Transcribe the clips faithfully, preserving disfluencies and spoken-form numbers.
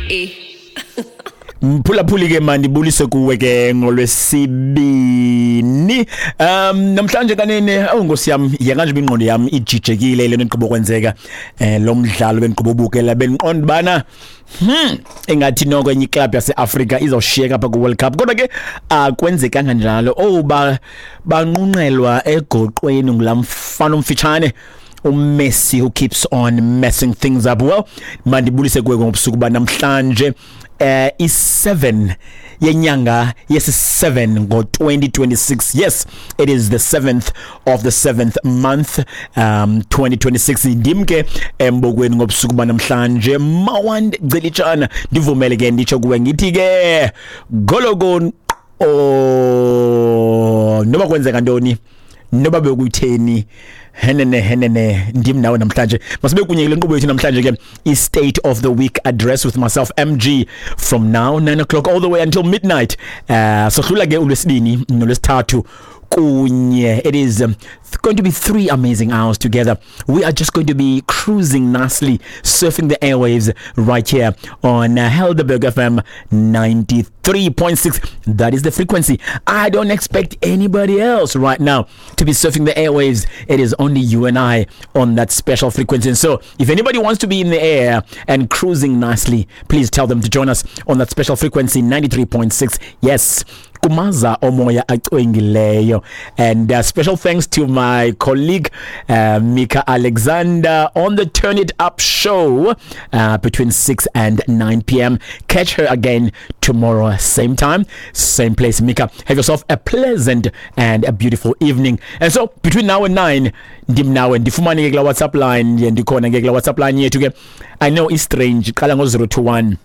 E Mphulaphuli ke mandibulise kuwe ke ngolwesibini. Um namhlanje kanene, awu Nkosi yami, yeka nje ingqondo yami ijijekile le nto kwenzeka eh lo mdlalo bengiqobo bukela, bengiqonda bana hmm engathi noko enye club yaseAfrika izawushiyeka apha ku World Cup, kodwa ke akwenzekanga njalo. Oh, ba banqunqelwa egoqweni ngulamfana omfitshane uMessi, who keeps on messing things up. Well, mandibulise kuwe ngobusuku banamhlanje, eh i seven yenyanga yesi seven ngo twenty twenty-six. Yes, it is the seventh of the seventh month, um twenty twenty-six. Ndim ke embokweni ngobusuku banamhlanje, Mawand Gcelitshana. Ndivumele ke nditsho kuwe ngithi ke gologon oh, noba kwenzeka ntoni, noba bekuyitheni, henene henene, ndim nawe namhlanje. Masibe kunye kule nkqubo yethu namhlanje ke, i-State of the Week Address with myself, M G, from now nine o'clock all the way until midnight. uh sohlula ke ulwesibini nolwesithathu kunye. It is um, going to be three amazing hours together. We are just going to be cruising nicely, surfing the airwaves right here on uh, Helderberg F M ninety-three point six. That is the frequency. I don't expect anybody else right now to be surfing the airwaves. It is only you and I on that special frequency. And so if anybody wants to be in the air and cruising nicely, please tell them to join us on that special frequency, ninety-three point six. Yes, kumaza omoya acwengileyo. And uh, special thanks to my colleague uh, Mika Alexander on the Turn It Up show uh, between six and nine p m. Catch her again tomorrow, same time, same place. Mika, have yourself a pleasant and a beautiful evening. And so between now and nine, ndim nawe. Ndifumane ke kula WhatsApp line, ndikhona ke kula WhatsApp line yethu ke. I know it's strange, qala ngo zero two one.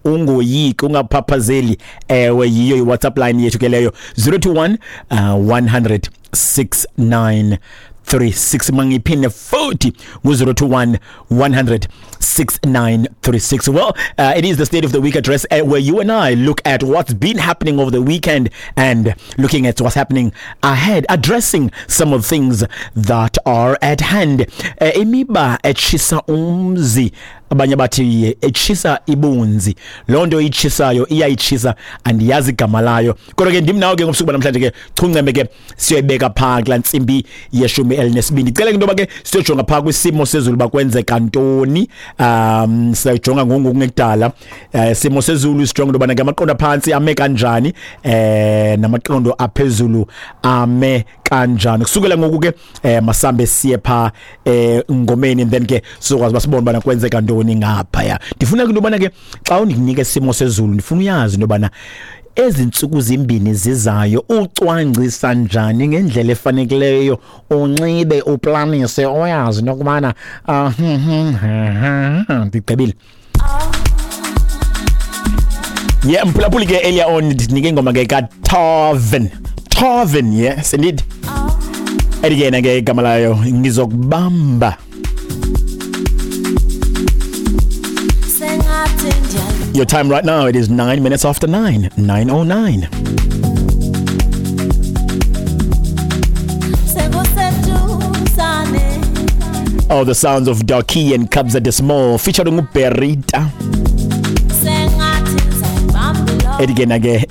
Ungoyiki, ungaphaphazeli. Ewe, yiyo i-WhatsApp line yethu ke leyo, zero two one uh, one hundred six nine three six. Mangiphinde futhi, ngu-zero two one one hundred six nine three six. Well, uh, it is the State of the Week Address, uh, where you and I look at what's been happening over the weekend and looking at what's happening ahead, addressing some of the things that are at hand. uh, imiba etshisa umzi, abanye bathi etshisa ibunzi, loo nto itshisayo iyayitshisa, andiyazi igama layo, kodwa ke ndim nawe ke ngobusuku banamhlanje ke. Chuncembe ke siyoyibeka phaa kulaa ntsimbi yeshumi elinesibini. Ndicela ke into yoba ke siyojonga phaa kwisimo sezulu uba kwenzeka ntoni. um siyayijonga ngoku kungekudala um simo sezulu, sijonga into yobana ke amaqondo aphantsi ame kanjani eh namaqondo aphezulu ame kanjani. Kusukela ngoku ke eh masambe siye phaa eh ngomeni, and then ke sizokwazi uba sibone ubana kwenzeka ntoni ngaphaya. Ndifuna ke into yobana ke xa undinika isimo sezulu, ndifuna uyazi into yobana ezi ntsuku zimbini zizayo ucwangcisa njani ngendlela efanekileyo, unxibe, uplanise, uyazi into yokubana uh, ndigqibile. Yeah, mphulaphuli ke, earlier on ndinike ingoma ke kaTarvin Tarvin, yes indeed, ethi ke yena ke igama layo "Ngizokubamba". Sengathi ndiyal Your time right now, it is nine minutes after nine, nine oh nine. Sekuseduzane. Oh, the sounds of Darky and Kabza De Small featuring Berita. Sengathi ngizayibamba. Ethi ke na ke